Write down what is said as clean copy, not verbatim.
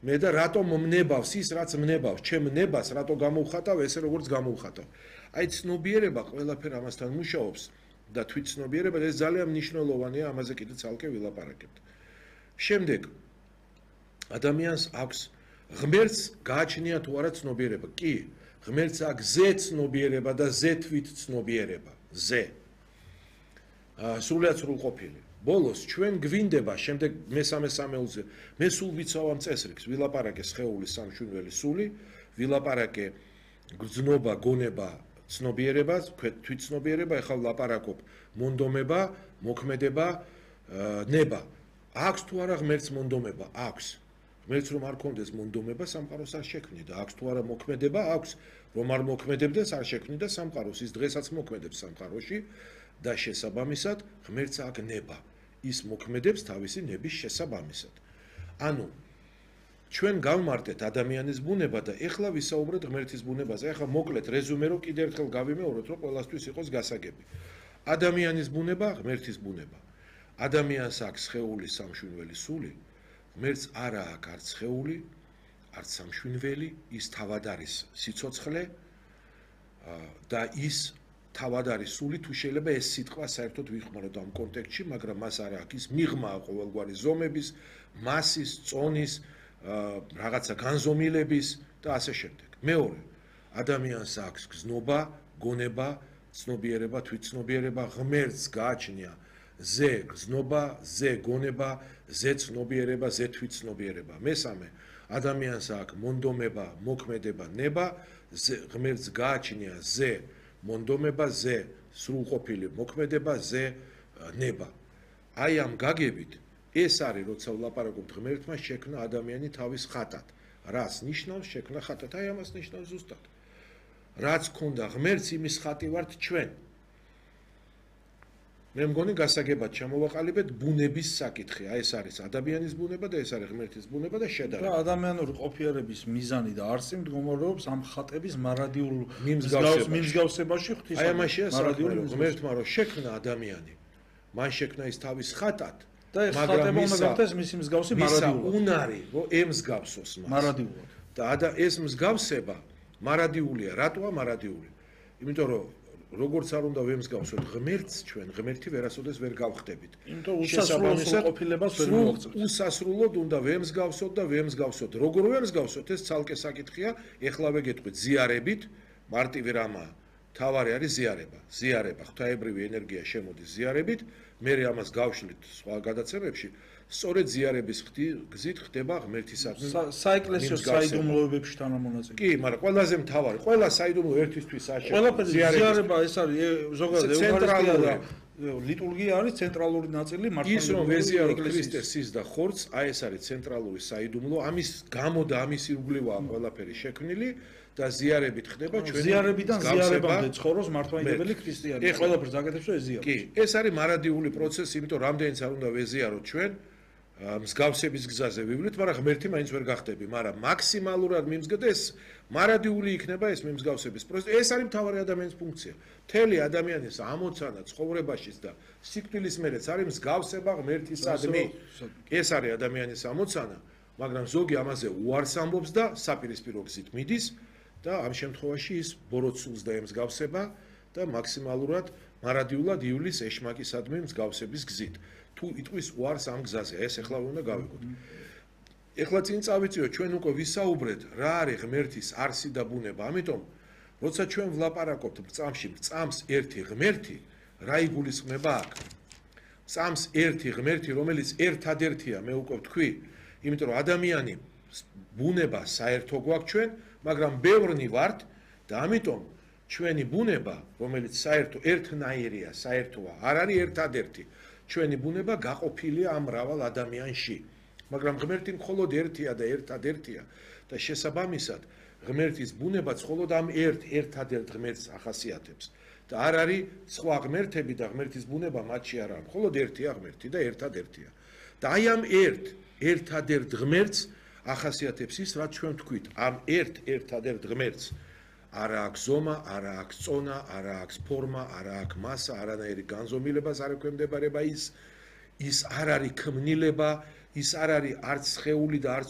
მე და რატომ მნებავს ის რაც მნებავს ჩემ ნებას რატო გამოვხატავ ესე როგორც გამოვხატავ აი ცნობიერება ყველაფერ ამასთან მუშაობს და თვით ცნობიერება ეს ძალიან მნიშვნელოვანია ამაზე კიდე ცალკე ვილაპარაკებთ შემდეგ ადამიანს აქვს ღმერთს გააჩნია თუ არა ცნობიერება კი ღმერთს აქვს ზე ცნობიერება და ზე თვით ცნობიერება ზე სრულიად სრულყოფილი ბოლოს ჩვენ გვინდება შემდეგ მესამე სამეულზე მე სულ ვიცავ ამ წესრიგს ვილაპარაკე სხეულის სამშვიდობელი სული ვილაპარაკე გრძნობა გონება ცნობიერება თვით ცნობიერება ეხლა ვლაპარაკობ მონდომება მოქმედება ნება აქვს თუ არა ღმერთს მონდომება აქვს ღმერთს რომ არ კონდეს მონდომება სამყაროს არ შექმნიდა აქვს თუ არა მოქმედება აქვს რომ არ მოქმედებდეს არ შექმნიდა სამყაროს ის დღესაც მოქმედებს სამყაროში და შესაბამისად ღმერთს აქვს ნება ის მოქმედებს თავისი ნების შესაბამისად ანუ ჩვენ გავმარტეთ ადამიანის ბუნება და ეხლა ვისაუბრეთ ღმერთის ბუნებაზე ეხლა მოკლედ რეზუმე რომ კიდევ ერთხელ გავიმეოროთ რომ ყველასთვის იყოს გასაგები ადამიანის ბუნება ღმერთის ბუნება ადამიანს აქვს სხეული სამშვიდობელი სული ღმერთს არა აქვს არც სხეული არც სამშვიდობელი ის თავად არის სიცოცხლე და ის თავად არის სული თუ შეიძლება ეს სიტყვა საერთოდ ვიხმაროთ ამ კონტექსტში მაგრამ მას არ აქვს ის მიღმაა ყოველგვარი ზომების მასის წონის რაღაცა განზომილების და ასე შემდეგ მეორე ადამიანს აქვს გზნობა გონება ცნობიერება თვითცნობიერება ღმერთს გააჩნია ზე გზნობა ზე გონება ზე ცნობიერება ზე თვითცნობიერება მესამე ადამიანს აქვს მონდომება მოქმედება ნება ღმერთს გააჩნია ზე მონდომება ზე სრულყოფილი მოქმედება ზე ნება აი ამ გაგებით ეს არის როცა ვლაპარაკობთ ღმერთმა შექმნა ადამიანი თავის ხატად რას ნიშნავს შექმნა ხატად აი ამას ნიშნავს ზუსტად რაც ქონდა ღმერთს იმის ხატი ვართ ჩვენ მე მგონი გასაგებად ჩამოვაყალიბეთ ბუნების საკითხი აი ეს არის ადამიანის ბუნება და ეს არის ღმერთის ბუნება და შედარება და ადამიანური ყოფიერების მიზანი და არსი მდგომარეობს ამ ხატების მარადიულ მიმსგავსებაში ღვთის აი ამაშია მარადიული ღმერთმა რომ შექმნა ადამიანი მან შექმნა ის თავის ხატად და ეს ხატება უნდა გახდეს მისი მსგავსი მარადიულად უნარი რომ ემსგავსოს მას მარადიულად და ეს მსგავსება მარადიულია რატოა მარადიული იმიტომ რომ როგორც არ უნდა ვემსგავსოთ ღმერთს ჩვენ ღმერთი ვერასოდეს ვერ გავხდებით იმიტომ უსასრულო ყოფილებას ვერ მოვაღწევთ უსასრულოდ უნდა ვემსგავსოთ და ვემსგავსოთ როგორ ვემსგავსოთ ეს ცალკე საკითხია ეხლავე გეტყვით ზიარებით მარტივი რამაა თავარი არის ზიარება ღვთაებრივი ენერგია შემოდის ზიარებით მე ამას გავშლით სხვა გადაცემებში სწორედ ზიარების გზით ხდება ღმერთისადმი საეკლესიო საიდუმლოებებში თანამონაწილე კი მაგრამ ყველაზე მთავარი ყველა საიდუმლო ერთისთვის არ შეგვიძლია ზიარება ეს არის ზოგადად ევქარისტია ლიტურგია არის ცენტრალური ნაწილი მართლაც ის რომ ვეზიარო ქრისტეს სის და ხორცს აი ეს არის ცენტრალური საიდუმლო ამის გამო და ამის ირგვლივაა ყველაფერი შექმნილი და ზიარებით ხდება ჩვენი ზიარებიდან ზიარებამდე ცხოვრობს მართლმადიდებელი ქრისტიანი ყველაფერს აკეთებს და ეზიაროს კი ეს არის მარადიული პროცესი იმიტომ რამდენიც არ უნდა ვეზიაროთ ჩვენ მსგავსების გზაზე ვივლით მაგრამ ღმერთი მაინც ვერ გახდები მაგრამ მაქსიმალურად მიმსგავსდეს მარადიული იქნება ეს მიმსგავსების პროცესი ეს არის მთავარი ადამიანის ფუნქცია მთელი ადამიანის ამოცანა ცხოვრებაშიც და სიკვდილის მერეც არის მსგავსება ღმერთისადმი ეს არის ადამიანის ამოცანა მაგრამ ზოგი ამაზე უარს ამბობს და საპირისპირო გზით მიდის და ამ შემთხვევაში ის ბოროტსულს და ემსგავსება და მაქსიმალურად მარადიულად ივლის ეშმაკისადმი მსგავსების გზით თუ იტყვის უარს ამ გზაზე ეს ახლა უნდა გავიგოთ ეხლა წინ წავიწიოთ ჩვენ უკვე ვისაუბრეთ რა არის ღმერთის არსი და ბუნება ამიტომ როცა ჩვენ ვლაპარაკობთ წამს ერთი ღმერთი რა იგულისხმება აქ წამს ერთი ღმერთი რომელიც ერთადერთია მე უკვე ვთქვი იმიტომ რომ ადამიანი ბუნება საერთო გვაქვს ჩვენ მაგრამ ბევრნი ვართ და ამიტომ ჩვენი ბუნება რომელიც საერთო ერთნაირია საერთოა არ არის ერთადერთი ჩვენი ბუნება გაყოფილია ამ მრავალ ადამიანში მაგრამ ღმერთი მხოლოდ ერთია და ერთადერთია და შესაბამისად ღმერთის ბუნებაც მხოლოდ ამ ერთადერთ ღმერთს ახასიათებს და არ არის სხვა ღმერთები და ღმერთის ბუნება მათში არ არის მხოლოდ ერთია ღმერთი და ერთადერთია და აი ამ ერთადერთ ღმერთს ახასიათებს ის რაც ჩვენ თქვით ამ ერთადერთ ღმერთს არა აქვს ზომა, არა აქვს წონა, არა აქვს ფორმა, არა აქვს მასა, არანაირი განზომილებას არ ექვემდებარება ის არ არის ქმნილება, ის არ არის არც სხეული და არც